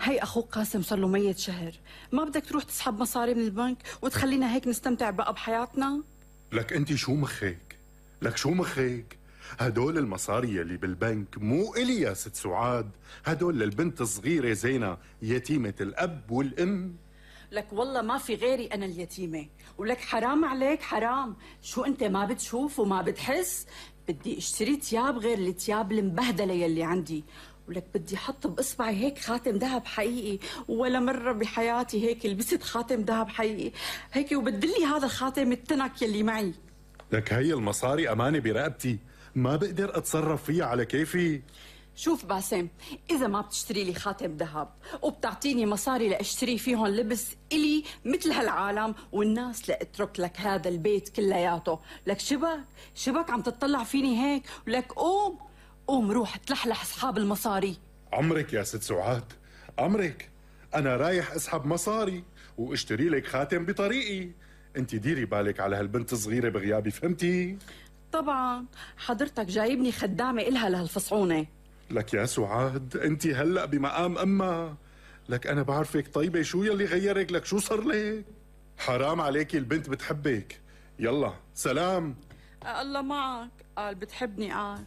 هي أخوك قاسم صار له ميت شهر، ما بدك تروح تسحب مصاري من البنك وتخلينا هيك نستمتع بقى بحياتنا؟ لك انت شو مخك؟ لك شو مخك؟ هدول المصاري يلي بالبنك مو إلي يا ست سعاد، هدول للبنت الصغيرة زينة يتيمة الأب والأم. لك والله ما في غيري أنا اليتيمة، ولك حرام عليك حرام، شو أنت ما بتشوف وما بتحس؟ بدي اشتري تياب غير التياب المبهدلة يلي عندي، ولك بدي حط بإصبعي هيك خاتم ذهب حقيقي، ولا مرة بحياتي هيك لبست خاتم ذهب حقيقي هيك، وبدلي هذا الخاتم التنك يلي معي. لك هي المصاري أمانة برقبتي، ما بقدر أتصرف فيها على كيفي. شوف باسم، إذا ما بتشتري لي خاتم ذهب وبتعطيني مصاري لأشتري فيهم لبس إلي مثل هالعالم والناس لأترك لك هذا البيت كلياته. لك شبك عم تطلع فيني هيك؟ ولك قوم روح تلحلح أصحاب المصاري. عمرك يا ست سعاد، عمرك، أنا رايح أسحب مصاري واشتري لك خاتم بطريقي. انت ديري بالك على هالبنت الصغيرة بغيابي، فهمتي؟ طبعا حضرتك جايبني خدامة إلها لهالفصعونة. لك يا سعاد، انت هلأ بمقام أمها، لك أنا بعرفك طيبة، شو يلي غيرك؟ لك شو صار لك؟ حرام عليكي، البنت بتحبك. يلا سلام. الله معك، قال بتحبني قال.